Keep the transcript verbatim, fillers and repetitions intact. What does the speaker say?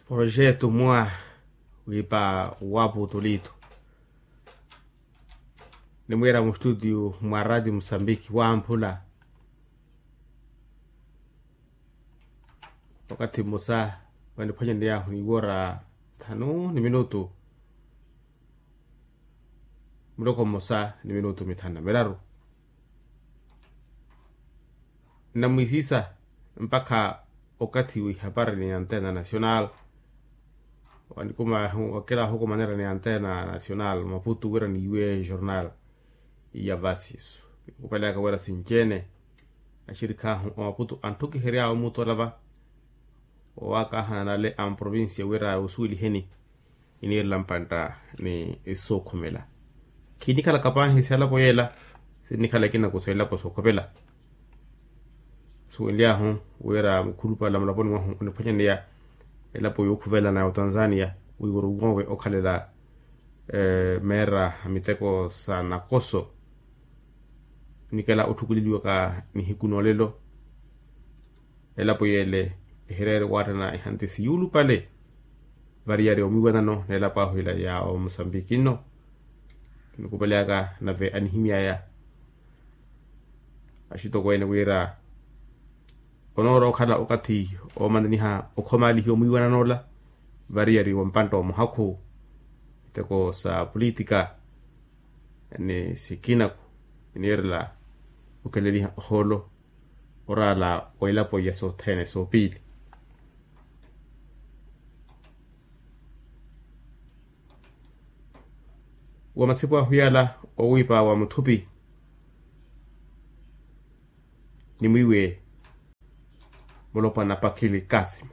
Porojetu mwa wiipa wapu tolitu. Nimwiira mustutiyu mwa rati musambiki wamphula. Wakathi mmosa waniphwanyaniyahu niwora thanu ni minutu. Muloko mmosa ni minutu mithanu na miraru. Nnamwisisa mpakha okathi wihapari ni antena national. Wanikuma wakela wahukumanera ni antena national maputu wira niiwe jornal. Iya vasiso. Kupelaka wira sinci-ene axirikhahu omaputu anthukihery'awe omutola va. Owakahana nale a mprovincia wira osuweliheni iniirela mpantta ni sookhumela. Khinikhalaka paahi si alapo yeela. Sinnikhala ekinaku sa elapo sookhopela. Suwenly'ahu wira mukhulupale mulaponi mwahu oniphwanyaneya elapo yookhuvelana ya otanzania wiiworo woowe okhalela meera a miteko sa nakoso. Nikela otthukuleliwaka nihiku noolelo. Elapo yeele ehireere waattana ehanti siyuulupale variyari omwiiwanano n'elapo ahu ila ya omusambiki nno. Kinikupeleyaka nave anihimy'aya axitokweene wira onoora okhala okathi oomananiha okhomaalihiwa omwiiwanano ola variyari wa mpantta wa muhakhu miteko sa politika ni sikinaku iniirela okeleliha ohoolo oraala wa elapo iya sothene soopiili. Wa masipu ahu yaala owiipa wa muthupi ni mwiiwe mulopwana pakili kasima.